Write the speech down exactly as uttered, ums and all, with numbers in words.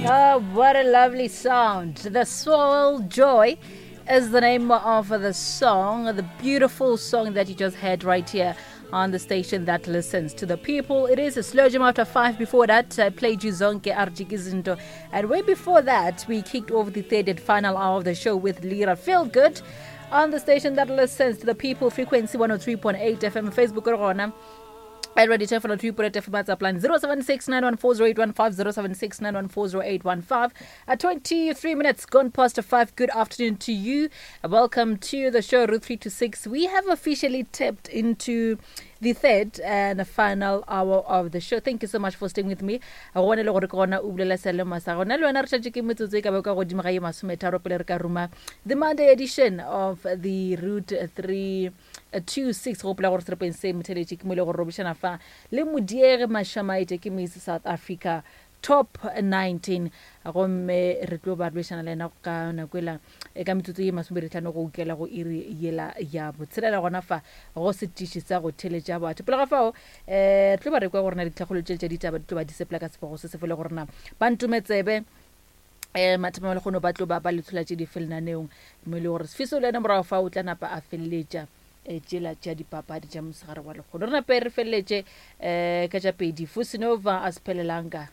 Oh, what a lovely sound. The Soul Joy is the name of the song, the beautiful song that you just heard right here on the station that listens to the people. It is a slow jam after five. Before that, I played you Zonke Arjikizinto. And way before that, we kicked off the third and final hour of the show with Lira Feel Good on the station that listens to the people, frequency one oh three point eight F M, Facebook or at Radio Ten one oh three point eight F M, WhatsApp line zero seven six nine one four zero eight one five, zero seven six nine one four zero eight one five. At twenty-three minutes gone past five, good afternoon to you. Welcome to the show, Route three to six. We have officially tapped into the third and final hour of the show. Thank you so much for staying with me. I want to le gore ke gona o bulela sealemo sa gona. Le wena re tšatše ke metsotso e ka ba ka godimo ga ye masometharo pele re ka ruma the Monday edition of the Route three two six. Go gopola gore serepeng se motheletše ke mo e le gore robišana fa le Modiegi Mashamaite ke Miss South Africa Top nineteen. Gomme re tlo ba rwešana le yena ka nako ela, e ka metsotso ye masomepedi tlhano go ukela go iri yela ya botshelela gona fa go setiši sa go theletša batho. Pele ga fao, eh, re tlo ba re kwa gore na ditlhagolo tše tša ditaba di tlo ba di sepela ka sepogo se se fele gore na ba ntometsebe, eh, mathama le kgono ba tlo ba ba le tshola tše di felenaneong, mo e le gore Sifiso le yena morago fa o tla napa a feleletša, eh, tšela tša dipapadi tša mosegare wa lekgono. Re nape re feleletše, eh, ka tša pedi Fusinova a sephelelanga.